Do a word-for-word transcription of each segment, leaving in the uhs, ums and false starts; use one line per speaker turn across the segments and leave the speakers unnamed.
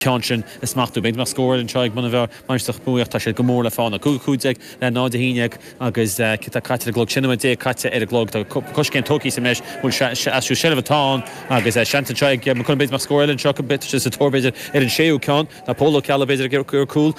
Ceann sin a smachtú. B'fhéidir nach scór anseo ag Muine Mheá Mainistir Bhuaich tá siad go mór le fána. Cúig cúig déag le náid a haon déag agus cad tá caite ar an gclog sin nóiméad déag caite ar an gclog tá coiscéim tógtha anois bhfuil aistriú seilbhe atá ann agus seans anseo ag Maigh Cuilinn b'fhéidir nach scór eile anseo sé sa tóir b'fhéidir ar an séú ceann tá Pól Ó Ceallaigh b'fhéidir ar cúl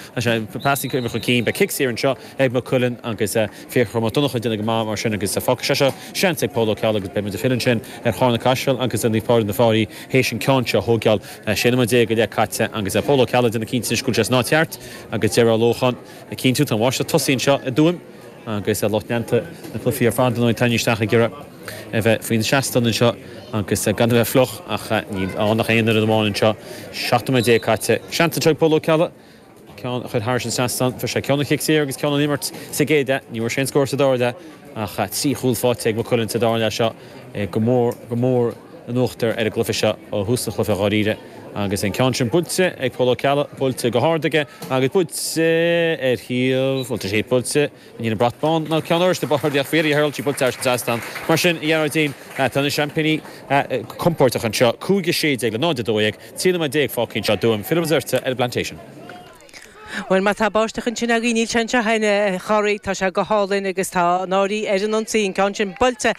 pas chun cinn beidh cic saor anseo ag Maigh Cuilinn agus Fiachra Mac Donncha déanamh go maith mar sin agus fágfaidh sé seo seans ag Pól Ó Ceallaigh agus beidh muid ag filleadh ansin ar Charna Caiseal agus Naomh Pádraig na Fáirí théis an ceann seo a thógáil sé nóiméad déag go leith caite agus Pól Ó Ceallaigh déanamh cinnte go bhfuil sé san áit cheart agus Deireadh Lóchan a cinntiú tá máiste tosaí anseo i dTuaim agus lucht leanta na cluichí ar fad nó taine isteach ag iarraidh a bheith faoin seastán anseo agus gan a bheith fliuch ach níl ann ach aon fhoireann amháin anseo seacht nóiméad déag caite. Seans anseo ag Pól Ó Ceallaigh ceann a chur thar an trasnán fuair sé ceann an chic saor agus ceann an imirt sa gcéad leath ní bhfuair sé an scór sa dara leath ach trí chúl faighte ag Maigh Cuilinn sa dara leath seo go mór go mór in uachtar ar an gcluiche seo ó thús an chluiche dháiríre agus an ceann sin buailte ag Pól Ó Ceallaigh buailte go hard aige agus buailte ar thaobh bhfuil sé buailte ní an brat bán ná ceann oráiste b'fhéidir ach faoi Harold sí buailte thar an trasnán mar sin a Ghearóidín tá na seaimpíní compordach anseo cúig a sé déag le náid a dó dhéag trí nóiméad déag fágtha anseo Tuaim Philip Zerta ar an Plantation.
Well má tá báisteach ansin againn níl sé anseo a chara tá sé go hálainn agus tá an Fhairche ar an ionsaí an ceann sin buailte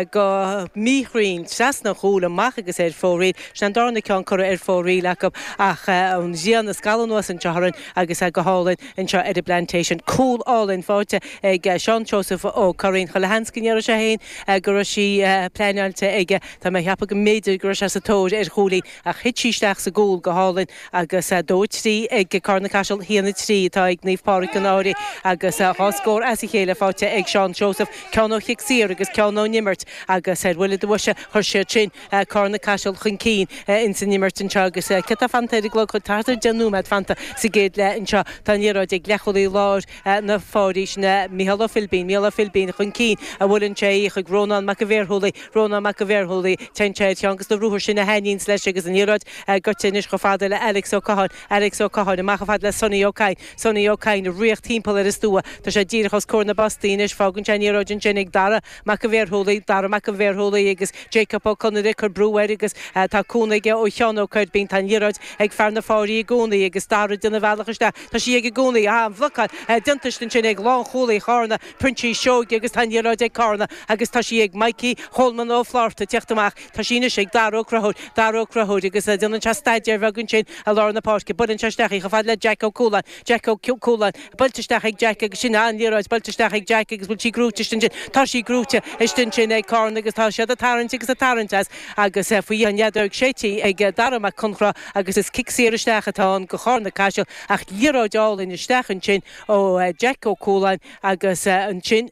go míchruinn trasna chúl amach agus ar fóraoil sin an darna ceann curtha ar fóraoil acu ach an ghrian ag scalladh anuas anseo orainn agus go hálainn anseo ar an Plantation. Cúl álainn faighte ag Seán Joseph Ó Curraoin chuile sheans go ndéarfadh sé féin go raibh sí pleanáilte aige Tá mé ag ceapadh go mb'fhéidir go raibh sé sa tóir ar chúilín ach thit sí isteach sa gcúl go hálainn agus dó trí ag Carna Caiseal haon a trí atá ag Naomh Pádraig an Fhairche agus dhá scór as a chéile faighte ag Seán Joseph ceann ó chic saor agus ceann ón imirt agus ar bhuille do bhoise chuir siad sin Carna Caiseal chun cinn ins an imirt anseo agus cad tá fanta ar an gclog thart ar deich nóiméad fanta sa gcéad leath anseo tá an liathróid ag leathchúlaí láir na Fáirí sin Micheál Ó Philbín Micheál Ó Philbín chun cinn a bhuaileann sé chuig Rónán Mac an Bhéarthúlaí Rónán Mac an Bhéarthúlaí téann sé ar cheann de na ruathair sin a thaitníonns leis agus an liathróid gaibhte anois chomh fada le Alex Ó Catháin Alex Ó Catháin amach chomh fada le Sonny Ó Cadhain Sonny Ó Cadhain ag rith timpeall ar an stua Tá sé díreach os comhair na bpostaí anois fágann sé an liathróid ansin ag Dara Mac an Bhéarthúlaí Dara Mac an Bhéarthúlaí agus Jacob Ó Conaire cur brú air agus tá cúnamh aige ó Sheán Ó Coirbín tá an liathróid ag fear na Fáirí i gcónaí agus Dara déanamh a bhealach isteach Tá sí ag i gcónaí an bhlocáil déanta ansin ag lánchúlaí Charna Proinsias Seoige agus tá an liathróid ag Carna agus tá sí ag Mikey Holman Ó Flárta teacht amach Tá sí anois ag Dara Ó Conchúir Dara Ó Conchúir agus déanann sé staidéar beag ansin i lár na páirce buaileann sé isteach í chomh fada le Jack Ó Cualáin Jack Ó Cualáin buailte isteach ag Jack agus sin an liathróid buailte isteach ag Jack agus bhfuil sí gnóite ansin tá sí gnóite ansin ag Carna agus tá siad ag tarraingt agus ag tarraingt as agus faoi an fheadóg séidte ag Dara Mac Conchra agus is cic saor isteach atá ann do Charna Caiseal ach liathróid álainn isteach ansin ó Jack Ó Cualáin agus ansin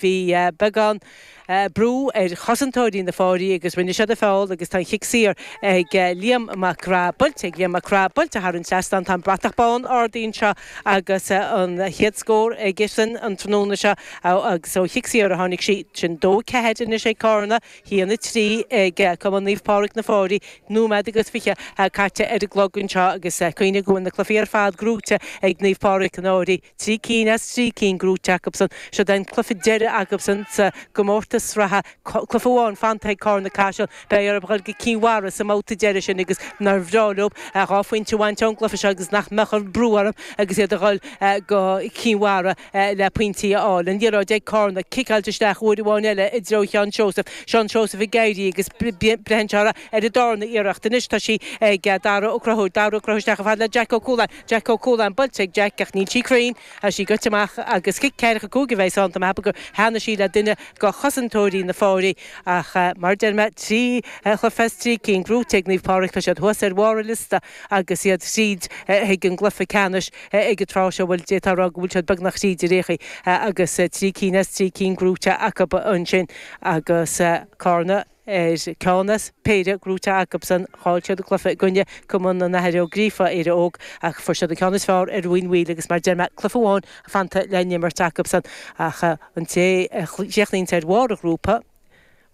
bhí beagán brú ar chosantóirí na Fáirí agus rinne siad a feall agus tá an chic saor ag Liam Mac Craith buailte ag Liam Mac Craith buailte thar an trasnán tá an bratach bán ardaithe anseo agus an chéad scór aigesean an tráthnóna seo agus ó chic saor a tháinig sí sin dó ceathair anois ag Carna haon a trí ag Cumann Naomh Pádraig na Fáirí nóiméad agus fiche caite ar an gclog anseo agus cuimhnigh go bhfuil na cluichí ar fad gnóite ag Naomh Pádraig an Fhairche trí cinn as trí cinn gnóite acusan seo an cluiche deiridh acusan sa gcomórtas sraithe cluiche amháin fanta ag Carna Caiseal beidh orthu dul go Cinn Mhara sa mbabhta deiridh sin agus nár bhreá leo dhá phointe a bhaint ón gcluiche seo agus nach mbeadh an brú orthu agus iad a dhul go Cinn Mhara le pointí a fháil. An liathróid ag Carna ciceáilte isteach uair amháin eile i dtreo Sheán Seosamh Seán Seosamh ag éirí agus braitheann sé ar an darna iarracht anois tá sí ag Dara Ó Conchúir Dara Ó Conchúir isteach chomh fada le Jack Ó Cualáin Jack Ó Cualáin buailte ag Jack ach níl sí cruinn tá sí goite amach agus cic ceathracha cúig a bheidh ann tá mé ag ceapadh gur theannaigh sí le duine de chosantóirí na Fáirí ach mar deir mé trí chluiche as trí cinn gnóite ag Naomh Pádraig tá siad thuas ar bharr an liosta agus iad tríd chuig an gcluiche ceannais ag an tráth seo bhfuil d'fhéadfá a rá go bhfuil siad beagnach tríd ar aon chaoi agus trí cinn as trí cinn gnóite acu ansin agus Carna ar ceann as péire gnóite acusan chaill siad an cluiche i gcoinne Cumann an Athar Ó Gríofa Éire Óg ach fuair siad an ceann is fearr ar Mhuin Mhaoil agus mar deir mé cluiche amháin fanta le n-imirt acusan ach an té a chríochnaíonn ar bharr an ghrúpa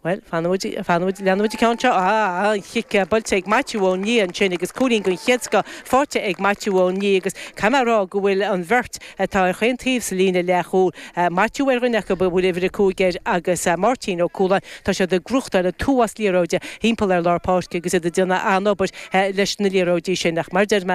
Well, fanfaidh muid, leanfaidh muid an ceann seo. Ah, an chic buailte ag Maitiú Ó Nia ansin agus cúilín den chéad scoth faighte ag Maitiú Ó Nia agus caithfidh mé a rá go bhfuil an bheirt atá ar chaon taobh sa líne leathchúil, Maitiú ar dhuine acu a bhfuil uimhir a cúig air agus Máirtín Ó Cualáin, tá siad ag gnóthachtáil an t-uafás liathróide thimpeall ar lár páirce agus iad ag déanamh an-obair leis na liathróidí sin. Ach mar a deir mé,